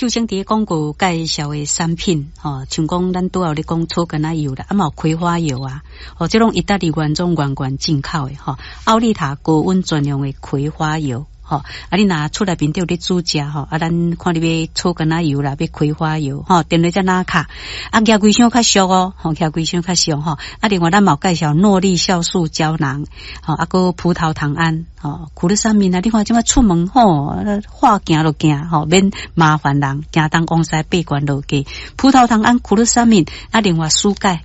秀清佇廣告介紹的產品，吼，像講咱拄仔有咧講草根仔油啦，啊嘛有葵花油啊，吼，這攏意大利原裝原罐進口的，吼，奧利塔高溫專用的葵花油。吼，啊！你若厝內面底有咧煮食吼，啊，咱看你欲草根仔油啦，欲葵花油吼，電話才拿卡，啊，舉規箱較俗哦，吼，舉規箱較俗吼。啊，另外咱嘛有介紹諾麗酵素膠囊，吼，啊，閣葡萄糖胺，吼，苦樂三明啊，你看這擺出門吼，話行就行吼，免麻煩人，行東往西八關落街，葡萄糖胺、苦樂三明，啊，另外蘇鈣。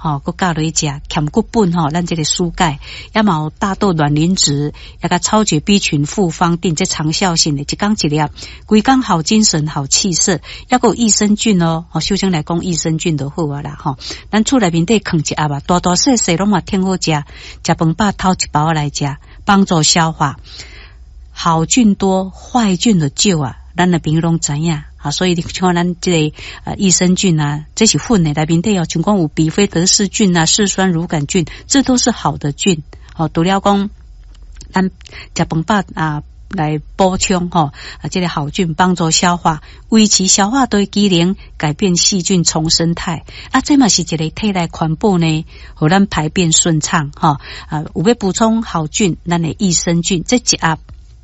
吼，閣教落去食，兼骨本吼，咱這個蘇鈣，也嘛有大豆卵磷脂，也佮超級 B 群複方錠，這長效性的，一工一粒，規工好精神、好氣色，抑閣有益生菌哦。吼，首先來講益生菌就好啊啦，吼，咱厝內面底囥一盒啊，大大細細攏嘛挺好食，食飯飽偷一包來食，幫助消化。好菌多，壞菌就少啊，咱的朋友攏知影。啊，所以你像咱這個益生菌啊，這是粉的內面底哦，像講有比菲德氏菌啊、嗜酸乳桿菌，這都是好的菌。哦，除了講咱食飯飽啊來補充吼啊，這個好菌幫助消化，維持消化道機能，改變細菌叢生態。啊，這嘛是一個體內環保呢，予咱排便順暢吼。啊，有欲補充好菌，咱的益生菌，這一盒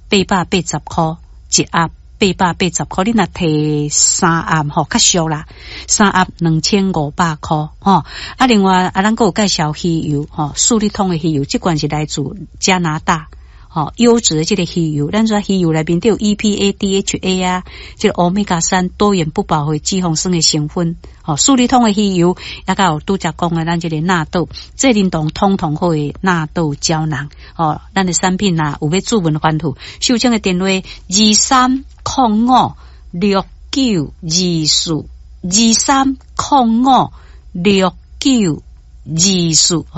880塊，一盒八百八十箍，你若提三盒吼，較俗啦，三盒2500箍吼。啊，另外啊，咱閣有介紹魚油吼，四力通的魚油，這罐是來自加拿大，吼，優質的這個魚油。咱說魚油內面都有 EPA、DHA 啊，這個歐米伽三多元不飽和脂肪酸的成分。吼，四力通的魚油，抑閣有拄才講的咱這個納豆，濟啉動通通好的納豆膠囊。吼，咱的產品啊，有欲諮詢番號，秀清的電話23056924，23056924，予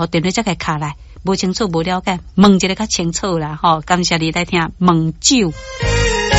電話才共敲來，無清楚無了解，問一下較清楚啦。吼，感謝你來聽問酒。